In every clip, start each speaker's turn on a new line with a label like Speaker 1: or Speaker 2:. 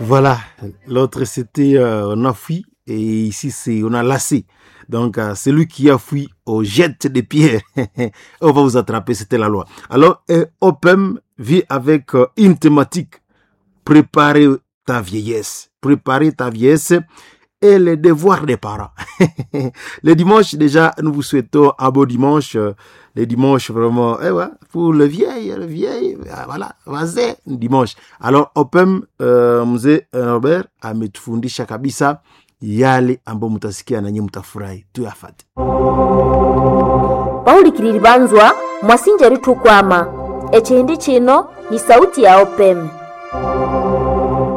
Speaker 1: Voilà, l'autre c'était on a fui et ici c'est on a lassé. Donc celui qui a fui au jet de pierre, on va vous attraper, c'était la loi. Alors OPEM vit avec une thématique, préparer ta vieillesse, préparer ta vieillesse et les devoirs des parents. Le dimanche, déjà, nous vous souhaitons un beau dimanche. Le dimanche, vraiment, eh ouais, pour le vieil, voilà, vas-y, dimanche. Alors, Opem, mzee Robert ametufundisha kabisa yale ambayo mtasikia na nyinyi mtafurahi. Tuyafate.
Speaker 2: Paulikiriri banzwa mwasinja ritukwama echihindi chino ni sauti ya Opem.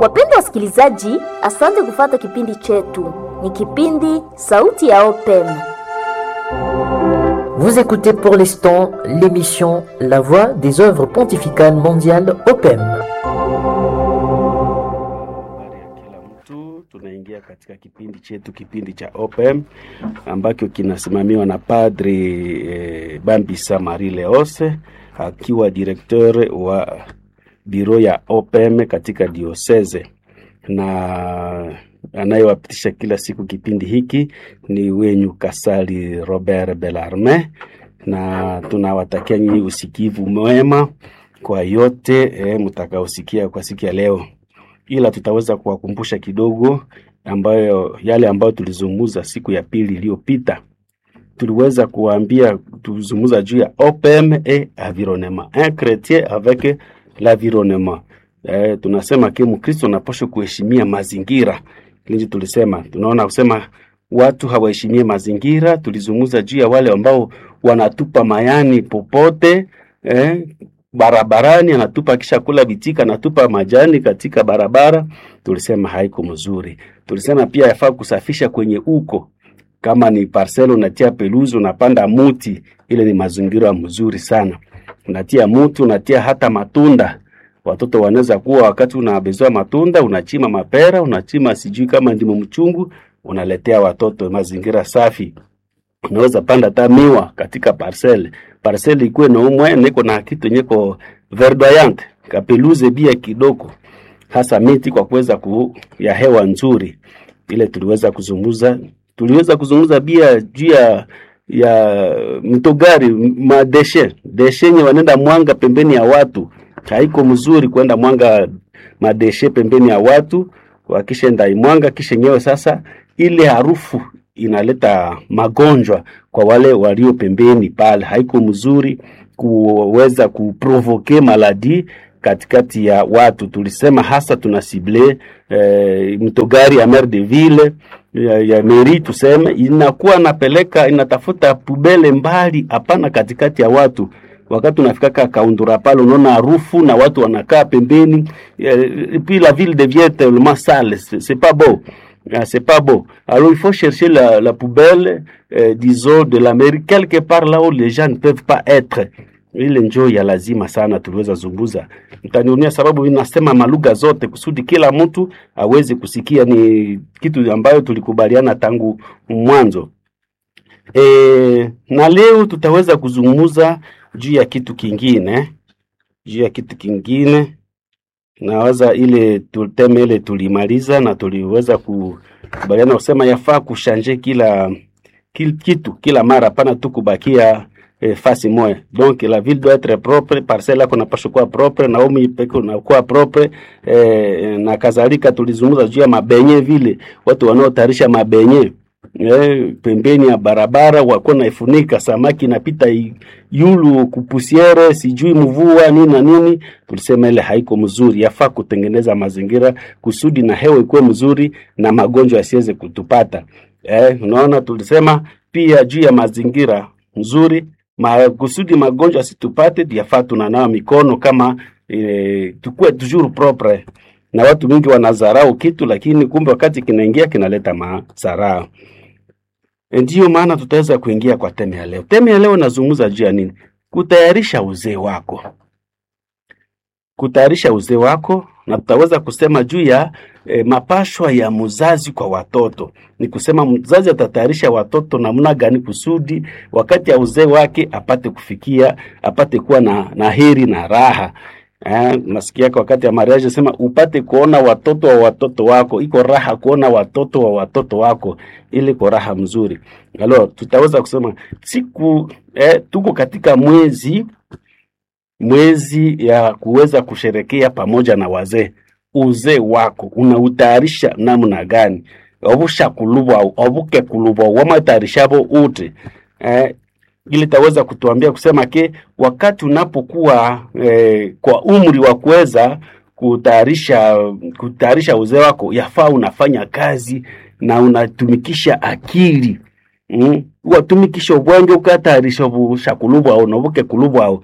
Speaker 2: Wapendwa wasikilizaji, asante kufata kipindi chetu. Ni kipindi Sauti ya Opem.
Speaker 3: Vous écoutez pour l'instant l'émission La Voix des œuvres pontificales mondiales OPEM.
Speaker 4: Habari ya kila mtu, tunaingia katika kipindi chetu, kipindi cha OPM ambacho kinasimamiwa na Padri Bambisa Marie Leose akiwa directeur wa biro ya OPM katika diocese, na anayewapitisha kila siku kipindi hiki ni wenyu Kasali Robert Bellarme, na tunawatakia nyinyi usikivu mwema kwa yote mtakaosikia kwa siku ya leo, ila tutaweza kuwakumbusha kidogo ambayo yale ambayo tulizungumza siku ya pili iliyopita. Tuliweza kuambia, tulizungumza juu ya OPM et environnement, un chrétien avec l'environnement. Tunasema ke Mkristo anapaswa kuheshimia mazingira. Linji tulisema, tunaona kusema watu hawaheshimie mazingira. Tulizungumza juu ya wale ambao wanatupa mayani popote barabarani, anatupa kisha kula bitika, anatupa majani katika barabara. Tulisema haiko mzuri. Tulisema pia yafaa kusafisha kwenye uko, kama ni parcel unatia peluzi, unapanda muti, ile ni mazingira mzuri sana. Unatia muti, unatia hata matunda. Watoto wanaweza kuwa wakati unabezoa matunda, unachima mapera, unachima sijui kama ndimu mchungu, unaletea watoto mazingira safi. Unaweza panda hata miwa katika parcel. Parcel ikuwe na umwe niko na kitu nyeko verdoyante, kapeluze bia kidogo, hasa miti kwa kuweza ku, ya hewa nzuri. Ile tuliweza kuzungumza, tuliweza kuzungumza bia juu ya mtogari madeshe deshe yenye wanaenda mwanga pembeni ya watu, haiko mzuri kwenda mwanga madeshe pembeni ya watu, wakishaenda imwanga kisha nyewe sasa, ile harufu inaleta magonjwa kwa wale walio pembeni pale. Haiko mzuri kuweza kuprovoke maladi katikati ya watu. Tulisema hasa tuna sible mtogari ya mer de ville ya meri, tuseme inakuwa napeleka inatafuta pubele mbali, hapana katikati ya watu. Wakati unafikaka Kaundura pale unaona harufu na watu wanakaa pembeni, puis la ville devient tellement sale, c'est pas beau. Ah, c'est pas beau. Alors il faut chercher la poubelle, disons, de la mairie, quelque part là où les gens ne peuvent pas être. Ile njoo ya lazima sana tuliweza zunguza. Mtaniunia sababu mimi nasema malugha zote kusudi kila mtu aweze kusikia. Ni kitu ambayo tulikubaliana tangu mwanzo. Na leo tutaweza kuzungumza juu ya kitu kingine, juu ya kitu kingine nawaza ile tuteme ile tulimaliza na tuliweza kukubaliana kusema yafaa kushanje kila kitu kila mara, pana tu kubakia fasi moya. Donc la ville doit être propre, parcelle yako inapaswa kuwa propre na umi peke unakuwa propre na kadhalika. Tulizungumza juu ya mabenye vile watu wanaotayarisha mabenye pembeni ya barabara wako naifunika, samaki inapita yulu kupusiere, sijui mvua nini na nini. Tulisema ile haiko mzuri, yafaa kutengeneza mazingira kusudi na hewa ikuwe mzuri na magonjwa yasiweze kutupata. Unaona, tulisema pia juu ya mazingira nzuri kusudi magonjwa yasitupate, yafaa tunanawa mikono kama tukue toujours propre na watu mingi wanadharau kitu, lakini kumbe wakati kinaingia kinaleta madhara. Ndiyo maana tutaweza kuingia kwa teme ya leo. Teme ya leo nazungumza juu ya nini? Kutayarisha uzee wako, kutayarisha uzee wako, na tutaweza kusema juu ya mapashwa ya mzazi kwa watoto. Ni kusema mzazi atatayarisha watoto namna gani kusudi wakati ya uzee wake apate kufikia, apate kuwa na heri na raha. Nasikia kwa wakati ya mariage sema upate kuona watoto wa watoto wako, iko raha kuona watoto wa watoto wako, ili iko raha mzuri. Alors tutaweza kusema siku tuko katika mwezi ya kuweza kusherekea pamoja na wazee. Uzee wako unautayarisha namna gani? Obushakulubwa obukekulubwa wamatarishabo ute ili taweza kutuambia kusema ke wakati unapokuwa kwa umri wa kuweza kutayarisha uzee wako, yafaa unafanya kazi na unatumikisha akili watumikisha obwenge ukatayarisha obushakulubwao nobukekulubwao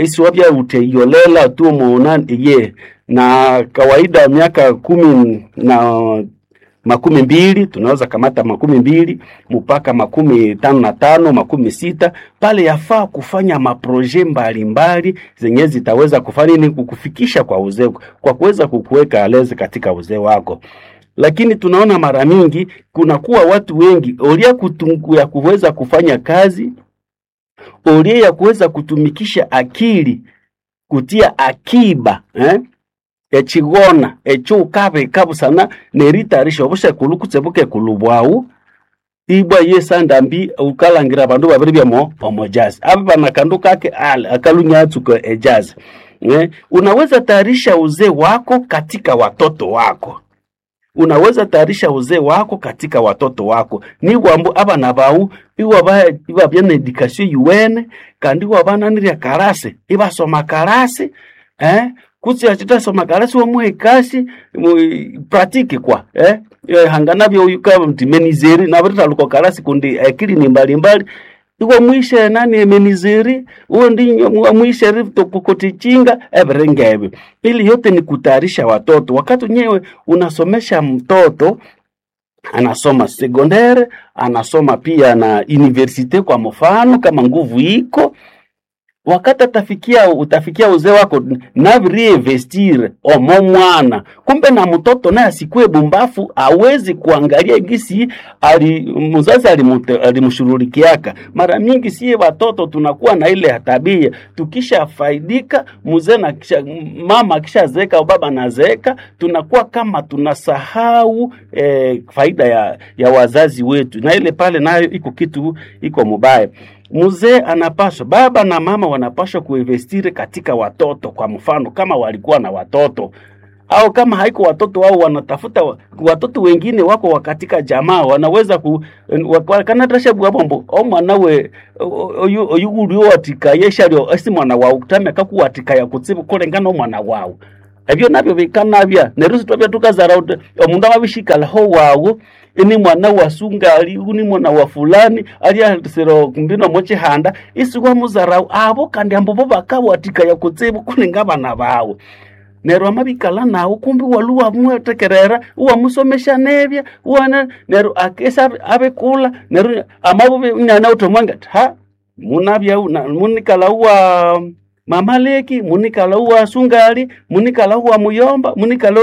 Speaker 4: isi wabya uteyolela tu muonani iye. Na kawaida miaka 10 na 20 tunaweza kamata 20 mpaka 55, 60 pale, yafaa kufanya maproje mbalimbali zenye zitaweza kufanya nini, kukufikisha kwa uzee, kwa kuweza kukuweka alezi katika uzee wako. Lakini tunaona mara mingi kunakuwa watu wengi olia kutungu ya kuweza kufanya kazi, olia ya kuweza kutumikisha akili, kutia akiba echigona echo ukabika busana neritarisha obushekulu kutse bukekulu bwawu ibwa yesandambi ukalangira abandu babiri byamo omojazi aba bana kandu kake ale akalunyatsuka ejazi. Unaweza tayarisha uzee wako katika watoto wako, unaweza tayarisha uzee wako katika watoto wako ni wambu abana bawu iwabya na education yuwene kandi iwabananirya karase ibasoma karase kutsi achitasoma karasi wamuhe kasi pratique kwa hangana byo yuka mtimenizeri na barita karasi kundi akili ni mbalimbali iwa mwishe nani emenizeri uwo ndi mwishe ritokokotichinga everengebe. Ili yote ni kutayarisha watoto. Wakati nyewe unasomesha mtoto anasoma secondaire, anasoma pia na universite kwa mfano, kama nguvu iko wakati atafikia utafikia uzee wako navireinvestir omo mwana, kumbe na mtoto naye asikue bumbafu, awezi kuangalia gisi ali mzazi alimshurulikiaka. Mara mingi sie watoto tunakuwa na ile tabia, tukishafaidika mzee na kisha, mama akishazeeka au baba anazeeka, tunakuwa kama tunasahau faida ya wazazi wetu, na ile pale nayo iko kitu iko mubaya. Mzee anapaswa, baba na mama wanapaswa kuinvestiri katika watoto. Kwa mfano kama walikuwa na watoto au kama haiko watoto wao, wanatafuta watoto wengine wako katika jamaa, wanaweza ku kanatasha bwabombo o mwana we oyu oyu watikayeshalyo esi mwana wawu kutame kakuwatikaya kutsibu kulengana omwana wawu ebyo nabyo bikanabya neryo sitwabya tukazara uti omundu amabishikalaho wawu ini mwana wa sungali uni mwana wa fulani aliasira mbino mochihanda isi wamuzarau abo kandi ambo bo bakawatikaya kutsibu kuninga abana bawu neryo amabikala nawu kumbi walu wamwetekerera uwamusomesha nebya uwana neryo akesa abekula neryo amabubi nyana utomwanga ha munabya munikala uwa mamaleki munikala uwa sungali munikala uwa muyomba munikala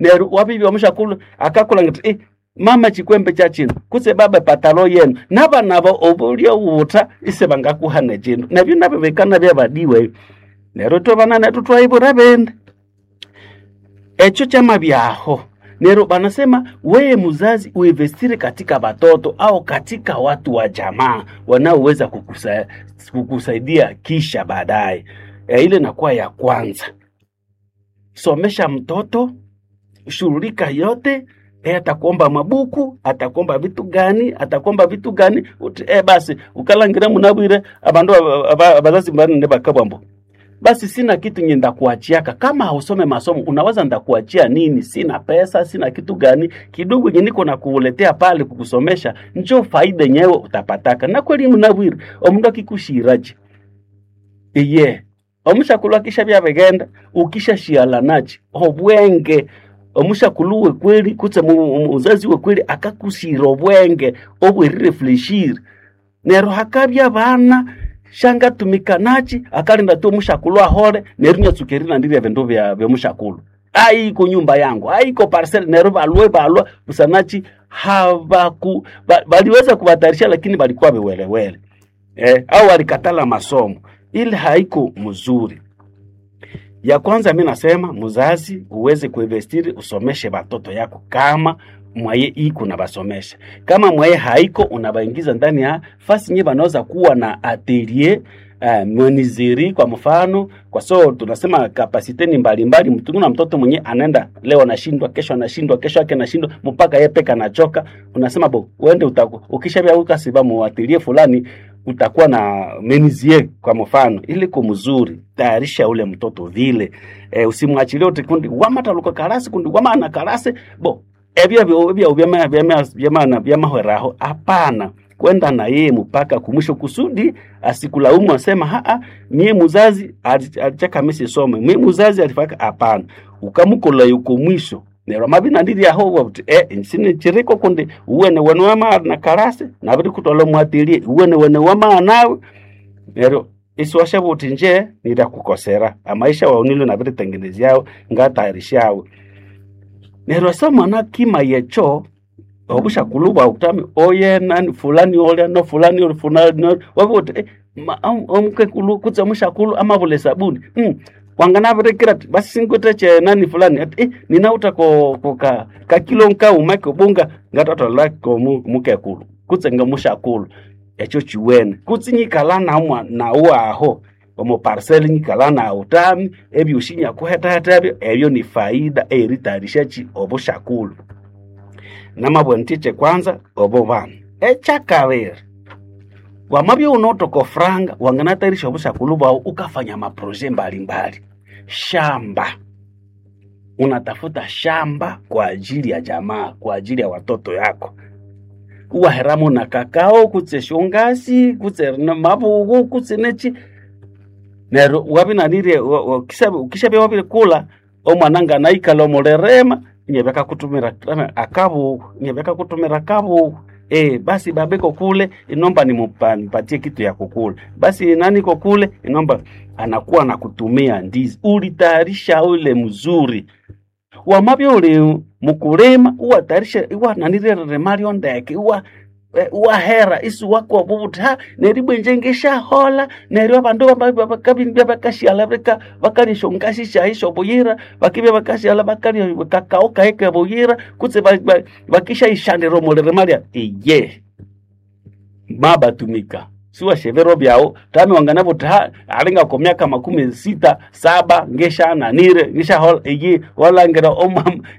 Speaker 4: neryo wabibya omushakulu akakula ngati mama chikwembe cha chino kutse baba patalo yenu nabanabo obulya ubuta ise bangakuhana chino nabyo nabyo bikana byabadiwe neryo twabana netu twaibura bende echo chama byaho. Nero banasema weye muzazi uinvestire katika watoto au katika watu wa jamaa wanaoweza kukusaidia kisha baadaye. Ile nakuwa ya kwanza. Somesha mtoto, shughulika yote. Atakuomba mabuku, atakuomba vitu gani, atakuomba vitu gani. Basi ukalangira munabwire abandu abazazi banene bakabwambo basi sina kitu nye ndakuachiaka. Kama hausome masomo unawaza ndakuachia nini? Sina pesa, sina kitu gani, kidogo nye niko na kuletea pale kukusomesha, njo faida nyewe utapataka. Na kweli mnabwire omundu akikushiraje iye omushakulwa kisha byabegenda ukishashiala nachi obwenge omushakulu we kweli kutse muzazi we kweli akakushira obwenge obwerirefleshire nero hakabya bana shangatumika nachi akalinda tu omushakulu ahole neru nyatsukerina ndirya vindu vya vyomushakulu aiko nyumba yangu aiko parcel nero balwe balwa busanachi habaku baliweza kuwatarisha lakini balikuwa viwelewele au walikatala masomo ili haiko mzuri. Ya kwanza mi nasema muzazi uweze kuinvestiri usomeshe batoto yako kama mwaye iko na basomesha, kama mwaye haiko unabaingiza ndani ya fasi nye banaweza kuwa na atelier menuiserie kwa mfano, kwa so tunasema kapasite ni mbalimbali. Mtu kuna mtoto mwenye anaenda leo anashindwa, kesho anashindwa, kesho yake anashindwa, mpaka yeye peke anachoka. Unasema bo, uende utaku ukishabia ukasiba mu atelier fulani utakuwa na menuisier kwa mfano, ili kumzuri tayarisha ule mtoto vile usimwachilie uti kundi wamataluka karasi kundi wamana karasi bo ebyo ebyo byama byama byama byamahweraho. Hapana, kwenda na yeye mpaka kumwisho kusudi asikulaumu asema haa, mie muzazi alichaka mimi sisome, mie muzazi alifaka. Hapana, ukamukola yuko mwisho nero mabina ndiri aho wabuti nsine chiriko kundi uwene wene wama na karasi nabiri kutola mwatilie uwene wene wama nawe nero isiwasha buti nje nirakukosera amaisha waunilo nabiri tengenezyao ngatayarishawe nero asa mwana kima yecho obushakulu bwawe kutami oye nani fulani olya no fulani oli fulani oli wabuti omukekulu kutse omushakulu amabula esabuni wanganabirekera ati basi sinkwete che nani fulani ati ninauta ko, ko ka, ka kilo nkauma kobunga ngatatola ko mukekulu kutse ngamushakulu ekyo chiwene kutse nyikala namwa nawo aho omu parcel nyikala nawo tami ebyoshi nyakuhetaheta ebyo ebyo ni faida eritayarisha chi obushakulu namabwa ntiche kwanza obo bana ekyakabiri wamabya unotoka franga wanganatayarisha obushakulu bwawu ukafanya maproje mbalimbali shamba unatafuta shamba kwa ajili ya jamaa kwa ajili ya watoto yako uwaheramo na kakao kutse shongasi kutse na mabugu kutse nechi neryo wabinanirye ukishabya wabirikula omwana nganaikala omulerema inyabya akakutumira akabugu inyabya akakutumira akabugu basi babeko kule inomba nimupatie kitu ya kukula basi nani ko kule inomba anakuwa na kutumia ndizi ulitayarisha ule mzuri wamabya uli mukulima uwatayarisha iwananirire malyo ndeke uwa wahera isi wakuwa ha neryo ibwa ngeshahola neryo abandu bakabya bakashyala bakalya esyongasi syayi syobuyira bakibya bakashyala bakalya kakao kayi kebuyira kutse bakishayishanira omulirima lya iye mabatumika siwashevero byawu tami wanganabuthi ha alinga ko myaka 67 ngeshananire ngeshahola iyi walangira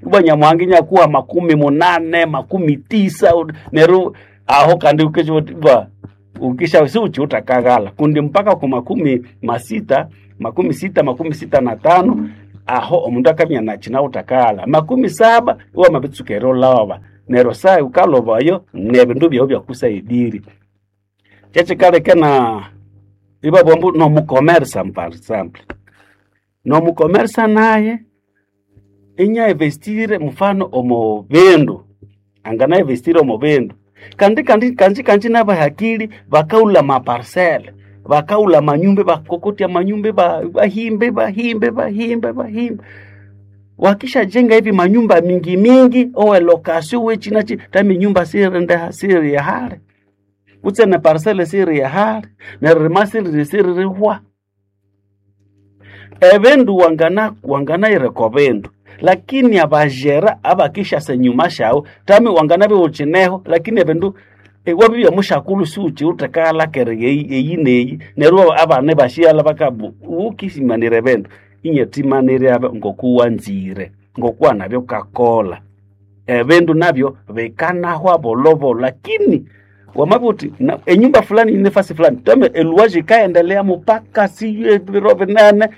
Speaker 4: ibwa nyamuhanga nyakuwa 80 90 neryo aho kandi ukisha ukisha si uchiutakaghala kundi mpaka ku 60 60 65 aho omundu akamya nachina utakaghala 70 iwa mabitsuka erilova neryo sai ukalovayo nebindu byawu byakusaidiri kyekikaleka na ibabwambu nomukomersa par exemple nomukomersa naye inya investire mfano omu bindu angana investire omu bindu kandi kandi kanji kanji nabahakili bakaula maparcele bakaula manyumba bakokotya manyumba bahimbe bahimbe bahimbe bahimbe wakishajenga hivi manyumba mingi mingi owe lokasio we china chi tami nyumba sirinde siri ya hale kutse ne parcele siri ya hale neririma siri siri rihwa ebindu wangana wangana ireko bindu lakini abajera abakishasa nyuma shawo tami wangana biwuchineho lakini ebindu wabibya mushakulu siuchi utekalakere eyi neyi neryo abana bashiala bakabu ukisimanire bindu inyetimanire abe ngokuwanzire ngokuwa nabyo kakola ebindu nabyo bikanahwa bolobolo lakini wamabuti enyumba fulani nefasi fulani tame eluwaji ikaendelea mupaka siyo biro binene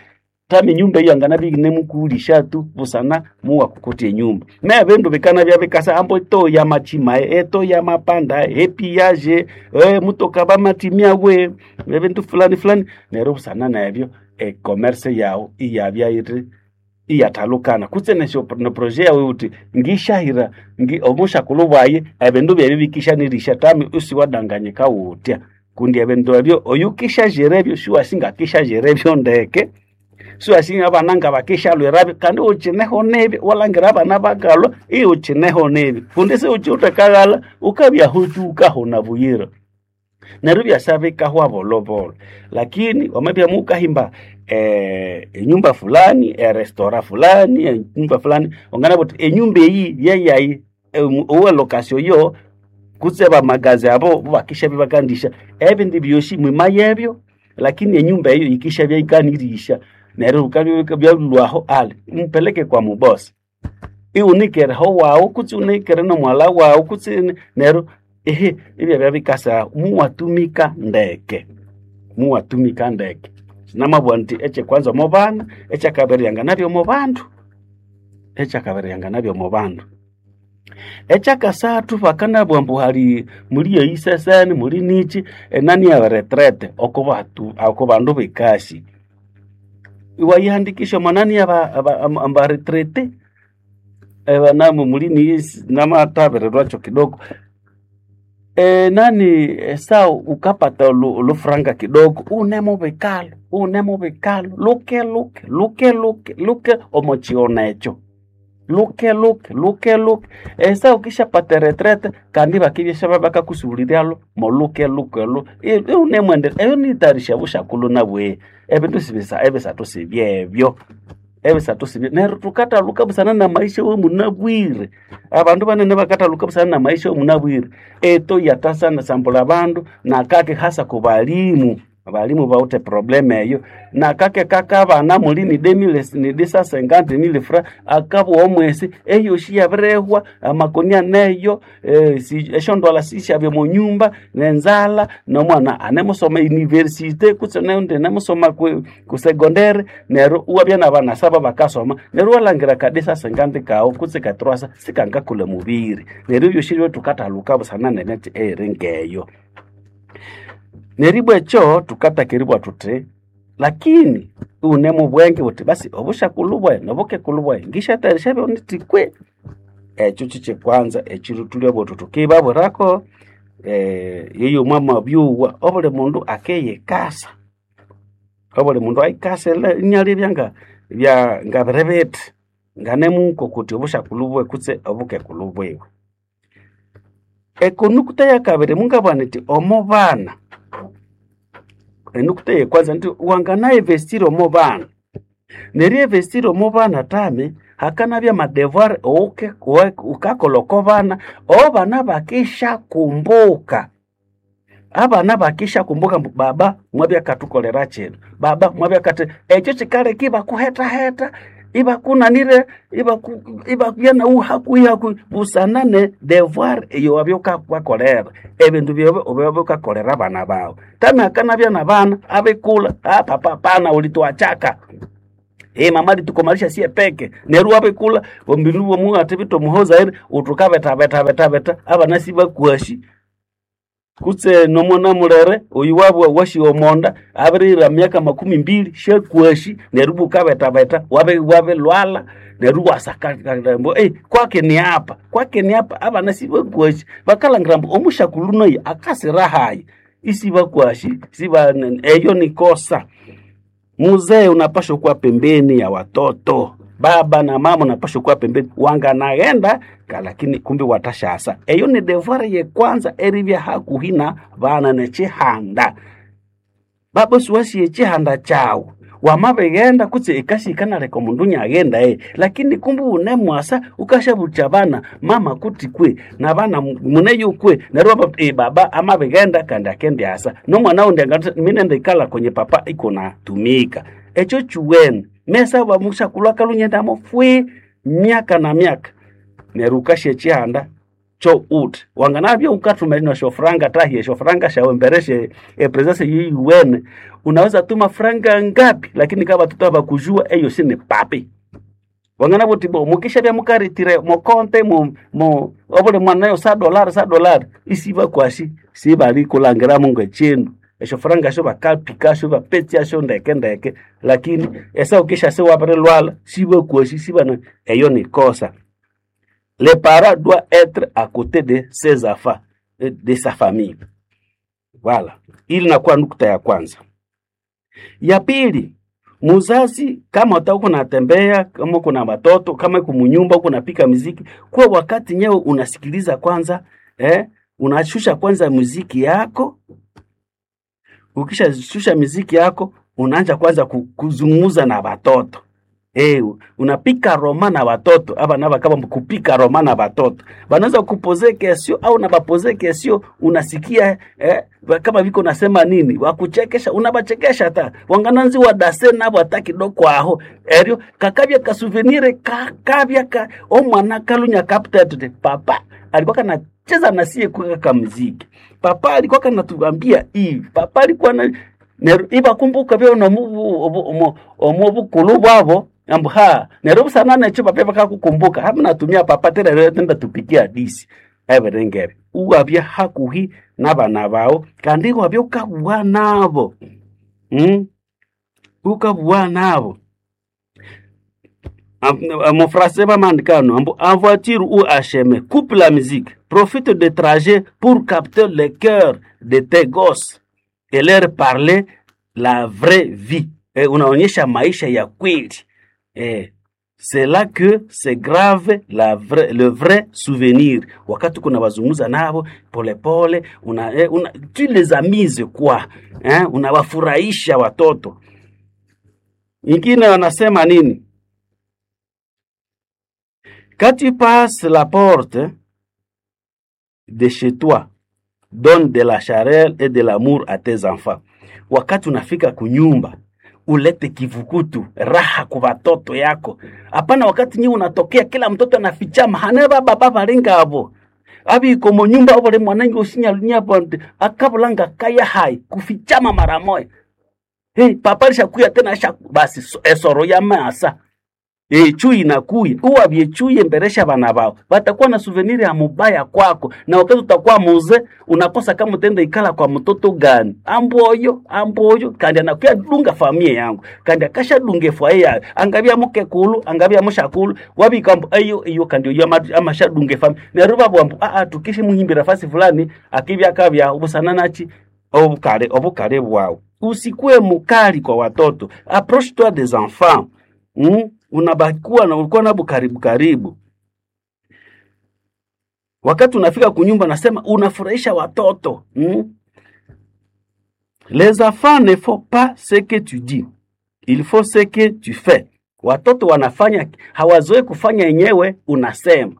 Speaker 4: tami nyumba iyo angana binemukuulisha tu busana muwa kukuti enyumba me bindu bikana bya bikasa ambo to ya machima eto ya mapanda epiyaje mutoka bamatimia we ebintu fulani fulani neryo busana nebyo e-commerce yawo iyabya iri iyathalukana kutse nesyo ne projet yawe uti ngishahira ngi omushakulu bwaye ebindu byebyo bikishanirisha tami usiwadanganyika wutya kundi ebindu ebyo oyukishajira ebyo siwasingakishajira ebyo ndeke siwasinga abana nga bakishalwirabyo kandi uchineho nebyo walangira abana bakalwa iuchineho nebyo kundi siuchiutekaghala ukabya hutu ukahona buyira. Neryo ibyasa bikahwa bolobolo. Lakini wamabya mukahimba enyumba fulani, erestora fulani, enyumba fulani, wanganabugha wuthi enyumba eyi yeyayi owa location yo kutse bamagazi abo bakishabya bakandisha ebindi byosi mwimayebyo, lakini enyumba eyo yikishabya yikanirisha. Neryo bukabya byalwaho ali mpeleke kwa mubosi, iwunikere ho wawu kutse unikere nomwalha wawu kutse neryo ehe ibyabya bikasa muwatumika ndeke, muwatumika ndeke. Namabugha indi ekyekwanza omo bana, ekyakabiri yanganabya omo bandu, ekyakabiri yanganabya omo bandu. Ekyakasathu bakanabugha ambu hali muli eyiseseni muli niki enani ya retraite oko batu oko bandu bekasi. Iwayihandikisha omo nani aba retraite ebanamu muli niyisi namathabirirwakyo kidogo. Nani esawa wukapata olufuranga kidogo iwunemubikalo iwunemubikalo luke luke luke luke luke omo kighona ekyo, luke luke luke luke. Esaha wukishapata eretraite kandi ibakibya bakakusubuliryalho moluke luke olho iwunemwendelea. Eyo niyitayarisha obushakulhu nabwe. Ebindu sibisa ebisathu sibyebyo, ebisathu sibye neryo thukathaluka busana namaisha awamunabwire. Abandu banene bakathaluka busana namaisha awamunabwire. Eto yathasana sambulha abandu nakake hasa kubalimu, abalimu bawithe problem eyo. Nakake kakabana muli ni demile ni disa cinquante mille francs akabugha omwesi eyosi yabirihwa, amakoni aneyo, esyondwalha sisyabya omo nyumba, nenzalha, nomwana anemusoma university kutse neundi anemusoma ku secondary neryo iwabya nabana saba bakasoma neryo iwalhangira ka disa cinquante kawu kutse ka trois cents sikangakolha omubiri. Neryo ebyosi ebyo thukathaluka busana nemyatsi eyiri ngeyo. Neribwa ekyo thukataka eribugha thuthi lakini iwune mubwenge wuthi basi obushakulhu bwayi nobukekulhu bwayi ngisyathayarisya byonithi kwe. Ekyo kyekyekwanza ekiro thulyabuwa thuthi thukibabwirako yeyo mwamabyugha obuli mundu akiyikasa, obuli mundu ayikase inalebya nga ngabiri bithi nganemuko kuthi obushakulhu bwiwe kutse obukekulhu bwiwe. Ekonukuta yakabiri mungabugha nithi omo bana, enukuta eyekwanza indi wangana investira omo bana, neryo eriyinvestira omo bana tami hakanabya amadevoir wukakolha oko bana, abana bakisyakumbuka, abana bakisyakumbuka ambu baba mwabya akathukolera kino, baba mwabya akathi, ekyo kyikaleka ibakuhethahetha ibakunanire ibabya naghu hakuhi hakuhi busana ne devoir eyowabya wukabakolera, ebindu byawu ebyawabya wukakolera abana baghu. Tami hakanabya nabana abikulha, papa hapana ulituachaka, mama alitukomalisha siye peke, neryo iwabikulha ombinu bwomuwathibitha omuhozaire wuthi wukabetha betha betha betha abana sibakwasi kutse nomwana mulere oyu wabugha wasiwa omonda abirihira myaka makumi mbili syakwasi neryo ibwa wukabethabetha wabilwalha neryo iwasaka ambu kwaki ni hapa, kwaki ni hapa, abana sibakwasi bakalhangira ambu omushakulhu nayi akasira hayi isibakwasi siba eyo ni kosa. Muzee unapashwa kuwa pembeni ya watoto, baba na mama unapashwa kuwa pembeni, wanganaghenda lakini kumbi watashasa. Eyo ni devoir yekwanza eribya hakuhi na bana nekyihanda. Baba siwasi ekyihanda kyawu wamabighenda kutse ekasi yikanaleka omundu inyaghenda lakini kumbi wunemwasa wukasyabuthya abana mama kuti kwe nabana muneyo kwe neryo iwababwira baba amabighenda kandi akendyasa nomwana wundi angathi minende ikalha kwenye papa ikunatumika. Ekyo kyuwene mesa mushakulhu akalhwa inyaghenda fwi myaka na myaka neryo wukasya ekyihanda kyo wuthi wanganabya wukathuma esyofuranga tahi esyofuranga syawu embere sye epresence eyuwene unaweza tuma franga ngapi lakini kama batoto abakujua eyo si ni papi. Wanganabugha wuthi bo mukishabya mukaretire mokonte mo obuli mwana nayo sa dolari sa dolari isibakwasi sibalikulhangiramu ngekyindu. Esyofuranga esyo bakapikasyo ibapetsasyo ndeke ndeke lakini esaha wukishyasa iwabirilhwalha sibakwasi sibana eyo ni kosa. Le parent doit être à côté de ses enfants, de sa famille. Voilà. Ili inakuwa nukta ya kwanza. Ya pili, muzazi kama uta unatembea, kama kuna watoto, kama uko munyumba uko unapika muziki, kuwa wakati nyewe unasikiliza kwanza, unashusha kwanza muziki yako. Ukishashusha miziki yako unaanza kwanza kuzungumza na watoto. Unapika roman na watoto aba naba kama kupika roman na watoto banaweza kupoze kesio au na bapoze kesio, unasikia kama viko nasema nini, wakuchekesha, unabachekesha hata wangananzi wadase nabo hata kidogo aho eryo kakabya ka souvenir kakabya ka omwana kalunya kapta tute papa alikuwa kanacheza na sie kwa kamuziki, papa alikuwa kanatuambia hivi, papa alikuwa na neryo ibakumbuka byo omu bukulu bwabo ambu ha neryo busana nekyo papa bakakukumbuka hamu natumia papa tera rero tenda tupikia hadisi ebiringebe uwabya hakuhi n'abana bawe kandi wabya ukabugha nabo Ukabugha nabo. Mon français va mandikano ambu en voiture ou à chemin, coupe la musique, profite de trajet pour capter le cœur de tes gosses et leur parler la vraie vie. Unaonyesha maisha ya kweli. C'est là que c'est grave la vraie, le vrai souvenir. Wakati kuna wazungumza nabo polepole, una, tu les amuses quoi, hein? Unawafurahisha watoto. Ingine wanasema nini? Quand tu passes la porte de chez toi, donne de la chaleur et de l'amour à tes enfants. Wakati unafika kunyumba, ulete kivukutu, raha kwa watoto yako. Hapana wakati nyi unatokea kila mtoto anafichama, hane baba baba ringa abo. Abi komo nyumba obole mwanangi usinya lunya bonde, akabulanga kaya hai, kufichama mara moja. Hey, papa alishakuya tena basi esoro ya masa. Chui inakuya uwa vyechuye mberesha bana bao batakuwa na souvenir ya mubaya kwako, na wakati utakuwa muze unakosa kama utenda ikala kwa mtoto gani amboyo amboyo kandi anakuya dunga familia yangu kandi akasha dunge fwaye yayo angabya mukekulu angabya mushakulu wabikambo ayo iyo kandi iyo amasha dunge familia neruba bwambo a a tukishe muhimbira fasi fulani akibya kabya ubusana nachi obukale obukale bwao. Usikue mukali kwa watoto, approche toi des enfants. Unabakuwa na ulikuwa nabo karibu karibu. Wakati unafika kunyumba nasema unafurahisha watoto. Les enfants ne font pas ce que tu dis, il faut ce que tu fais. Watoto wanafanya hawazoe kufanya yenyewe unasema,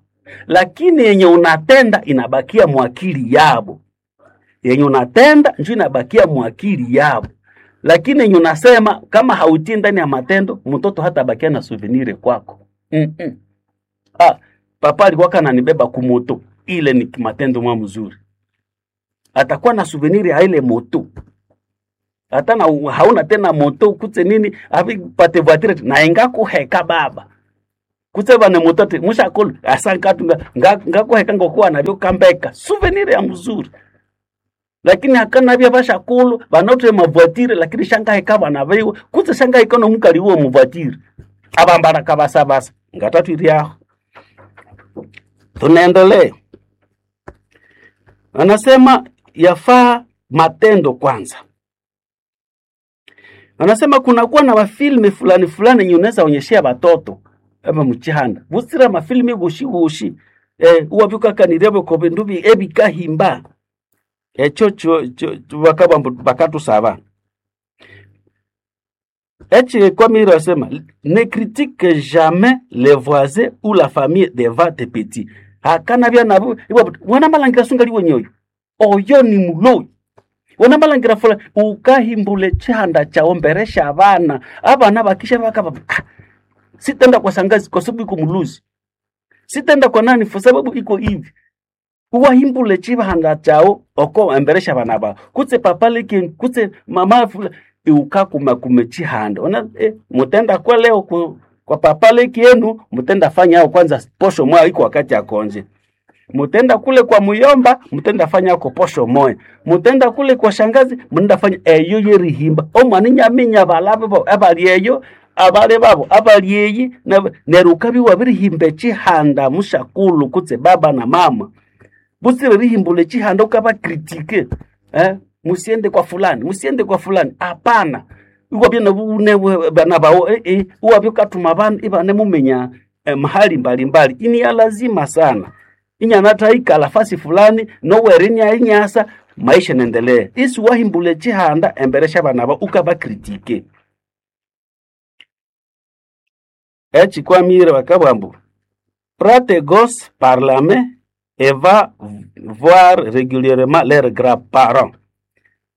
Speaker 4: lakini yenye unatenda inabakia mwakili yabo. Yenye unatenda ndio inabakia mwakili yabo, lakini yenye unasema kama hautii ndani ya matendo, mtoto hata bakia na souvenir kwako. Papa alikuwa kananibeba kumoto, ile ni matendo mwa mzuri, atakuwa na souvenir ya ile moto hata na hauna tena moto kutse nini avi pate voiture na inga kuheka baba kutse bane moto te mushakulu asankatu ngakuheka ngokuwa nabyo kambeka souvenir ya mzuri, lakini hakana bya bashakulu banote mavoitire lakini shangaheka bana biwe kutse shangaheka no mukali wo muvoitire abambara kabasa basa ngatatu iriaho. Tunaendelea, anasema yafaa matendo kwanza. Anasema kunakuwa na mafilme fulani fulani yenye unaweza onyeshea watoto aba muchihanda busira mafilme gushi gushi uwabyukakanirebe ko bindu ebikahimba echo cho bakaba bakatusaba echi kwa asema ne critique jamais les voisins ou la famille devant tes petits. Hakana bya nabo wana malangira sunga liwe nyoyo oyo ni muloi wana malangira fula ukahimbule chihanda chaomberesha abana abana bakisha bakaba sitenda kwa sangazi kwa sababu iko muluzi, sitenda kwa nani kwa sababu iko hivi. Uwahimbule chihanda chao oko emberesha abana bao kutse papa liki kutse mama fula ukakuma kumechihanda ona mutenda kwa leo kwa papa leki yenu mutenda fanya ao kwanza posho moya iko wakati ya konje, mutenda kule kwa muyomba mutenda fanya ako posho moya, mutenda kule kwa shangazi mutenda fanya eyo yerihimba omwana nyaminya balabe bo abali eyo abale babo abali eyi nerukabi wabirihimba chihanda mushakulu kutse baba na mama busire rihimbule chihanda ukaba critique musiende kwa fulani musiende kwa fulani hapana. Uwabyo nabune bana bao uwabyo katuma bana ibane mumenya mahali mbalimbali ini ya lazima sana inyanata ikala fasi fulani nowere inya inyasa Maisha nendelee isi wahimbula chihanda embere syabana aba ukabacritique. Echikwamire bakabugha ambu prends tes gosses par la main et va voir régulièrement leurs grands-parents.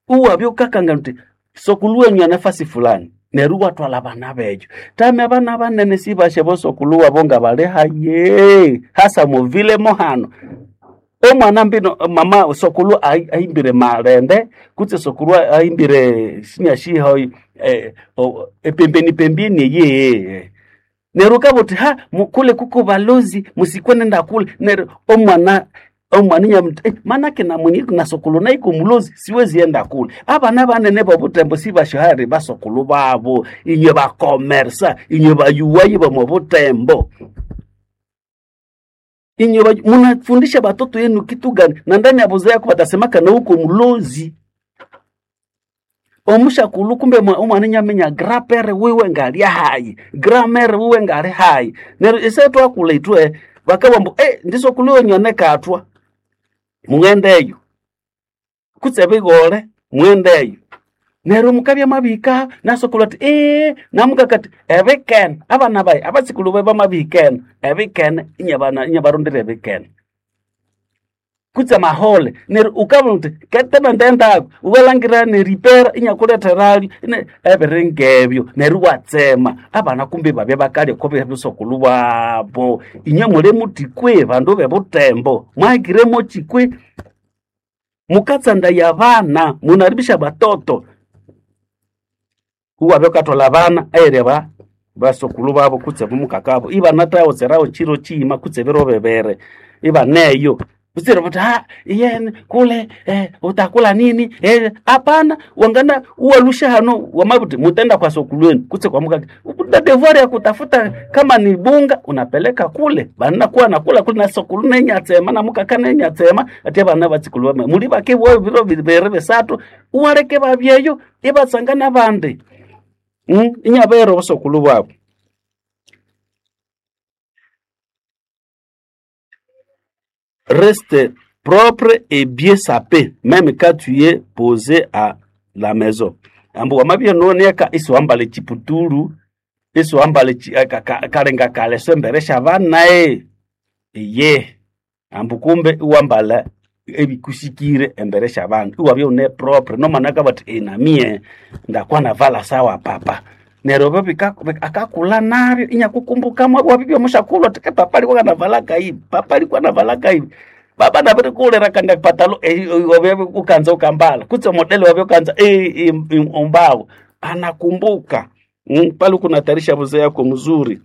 Speaker 4: Uwabya ukakanga uthi sokulu wenyu anafasi fulani neryo iwathwalha abana beyo. Tami abana banene sibasya bosokulu wabo nga bali haye hasa muvile mohano. Omwana mbino mama sokulu ahimbire malende kutse sokulu ahimbire sinyashiho epembeni pembeni yeye neryo ukabugha uthi ha kule kuko balozi musikwe nenda kule neryo omwana inyamuthi manake namunyi na sokulu naiko mulozi siwezi enda kule. Abana banene bobutembo sibasyohali basokulu babo inywe bakomersa inywe bayuwayi bomo butembo inywe munafundisha batoto yenu kitu gani? Na ndani ya buza yako batasemaka na uko mulozi omushakulu kumbe omwana inyaminya grapere wiwe ngali hayi gramere wiwe ngali hayi neryo ise twakula ithwe bakabugha ambu ndisokulu wenyu anekathwa mughendeyo kutse ebigole mughendeyo neryo mukabya mwabihika nasokulu athi namukaka athi ebikene abana bayi abasikulu bayi bamabihikene ebikene inyabarondera ebikene kutse amahole neryo ukabona uthi ketebe ndendaku wukalhangira neripera inyakuletheralyo ebiri ngebyo neryo iwatsema abana kumbe ibabya bakalya oko bisokulhu babo. Inywe muli muthi kwe bandu bebutembo mwahikire mochi kwe mukatsandaya abana munaribisha batoto iwabya wukathwalha abana eyiri basokulhu babo kutse bomukakabo ibanathaghoserawo chiro chiyima kutse ebiro bibiri ibaneyo butsire buthi ha iyene kule utakula nini hapana wangana uwalusha hano wamabuti mutenda kwa sokulu wenu kutse kwa mukaka una devoir ya kutafuta kama ni bunga unapeleka kule bana kuwa nakula kule na sokulu nenyatsema na mukaka nenyatsema ati abana batsikulu bama muli bake bo biro bibiri bisathu uwaleke babyeyo ibatsanga nabandi inyabera obusokulu bwabo. Reste propre et bien sapé même quand tu es posé à la maison. Ambu wamabya nuwoneka isiwambala echiputulu isiwambala kalenga kaleso embere syabana iye ambu kumbe iwambala ebikusikire embere syabana iwabya wune propre nomwana akabugha athi namiye ndakwa navala sawa papa neryo ebyo akakulha nabyo inyakukumbuka wabibya omushakulhu athi papa alikuwa anavalaka hivi papa alikuwa anavalaka hivi baba nabirikulira kandi patalo wabya ukanza ukambala kutse modele wabya ukanza ombawo anakumbuka pale kunatarisha mzee yako mzuri.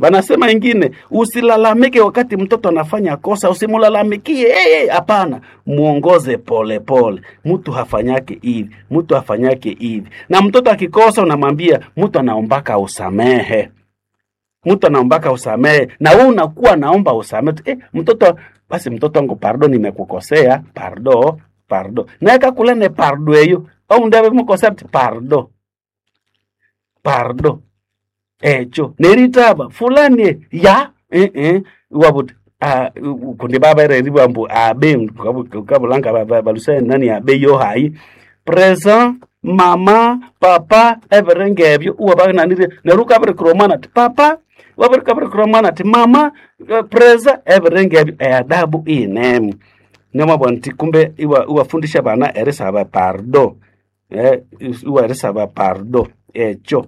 Speaker 4: Wanasema ingine usilalamike wakati mtoto anafanya kosa, usimulalamikie hapana, muongoze pole pole. Mtu hafanyake hivi, mtu hafanyake hivi. Na mtoto akikosa unamwambia mtu anaombaka usamehe. Mtu anaombaka usamehe na wewe unakuwa naomba usamehe. Mtoto basi mtoto wangu pardo, nimekukosea, pardo, pardo. Na akakulene pardo eyo, au ndiye mukosea pardo. Pardo. Echo neritaba fulani ya wabuti kundi baba ereriwa ambu abe kabulanga balusa nani abe yo hayi present mama papa ebirenge ebyo uwabananire neryo ukabirikira omwana ati papa wabirikabirikira omwana ati mama present ebirenge ebyo eadabu iyinemu nemwabugha nti kumbe iwafundisha abana erisaba pardo iwarisaba pardo echo.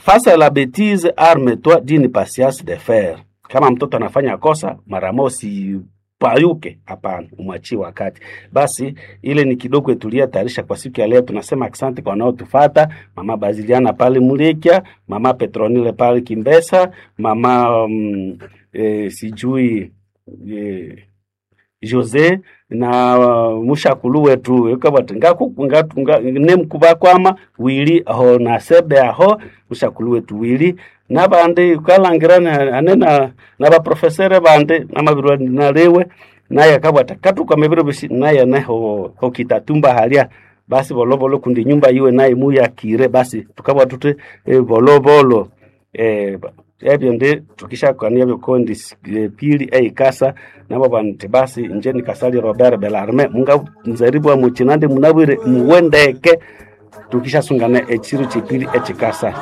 Speaker 4: Face à la bêtise, arme-toi d'une patience de fer. Kama mtoto anafanya kosa, mara moja usipayuke, hapana, umwachie wakati. Basi ile ni kidogo tulia tayarisha kwa siku ya leo. Tunasema asante kwa wanaotufata, mama Baziliana pale Mulekia, mama Petronile pale Kimbesa, mama sijui Jose na mushakulu wetu ekabati nemkubakwama wili aho na sebe aho mushakulu wetu wili nabandi ukalangira ane na baprofesere bandi namabirwa nalewe naye akabwata katuka mibiro bisi naye neho hokitatumba halia basi bolovolo kundi nyumba iwe naye muyakire basi tukabwa tute bolovolo Ebyo ndi tukishakania byokondi pili eikasa nabo banti basi nje nikasali Robert Belarme munga nzeribwa muchinande munabwire muwendeke tukishasungana ekiro kyepili ekikasa.